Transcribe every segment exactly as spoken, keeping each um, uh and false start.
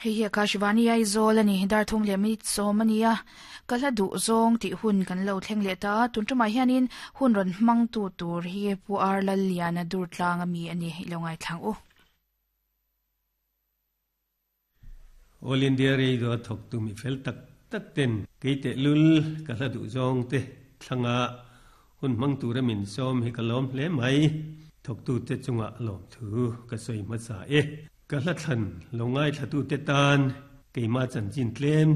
Hei hi Akashvani Aizawl ani dar thum leh minute sawm ania ka hla duh zawng tih hun kan lo thleng leh ta tun tumah hianin hun rawn hmang tu tur hi Pu Ar Lalliana dur tlang ami ani ilo ngai thlang u. All India Radio a thawk tu mi fel tak tak ten kei teh lul ka hla duh zawng te thlanga hun hmang tura min sawm hi ka lawm hle mai. Thawk tu te chunga lawm thu ka sawi hmasa e. Ka hla thlan lo ngai thla tu te tan keima chanchin tlem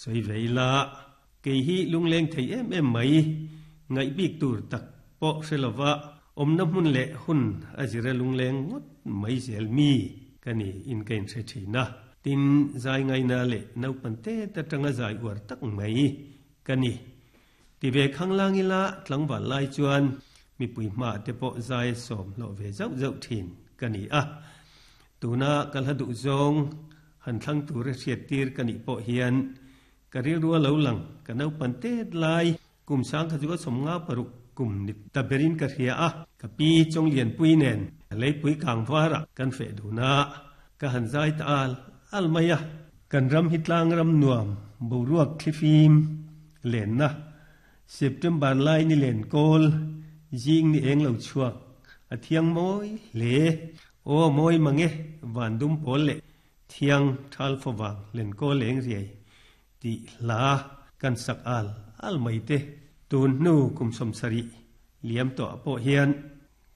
sawi ve ila kei hi lungleng thei em em mai ngaih bik tur tak pawh hre lova awmna hmun leh hun a zira lungleng ngawt mai zel mi ka ni in ka inhre thin a. Tin zai ngaina leh naupang te ta tanga zai uar tak mai ka ni. Ti ve khanglang ila tlangval lai chuan mi pui hma te pawh zai sawm hlawh ve zauh zauh thin ka ni a. Tuna ka hla duh zawng han thlang tura hriat tir ka nih pawh hian ka rilru a lo lang ka naupang tet lai kum sang kha chu ka sawm nga paruk kum ni ta berin ka hria a. Ka pi chawng lian pui nen leipui kang vara kan feh duna ka han zai ta al al mai a. Kan ram hi tlang ram nuam boruak thlifim len na September lai ni len kawl jing ni eng lo chuak a thiang mawi hle o mawi mange van dum pawl le thiang thal fawang len kawl leng riai ti hla kan sak al al mai te tun hnu kum sawm sarih liam tawh pawh hian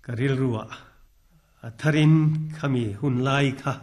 ka rilru a a tharin khami hun lai kha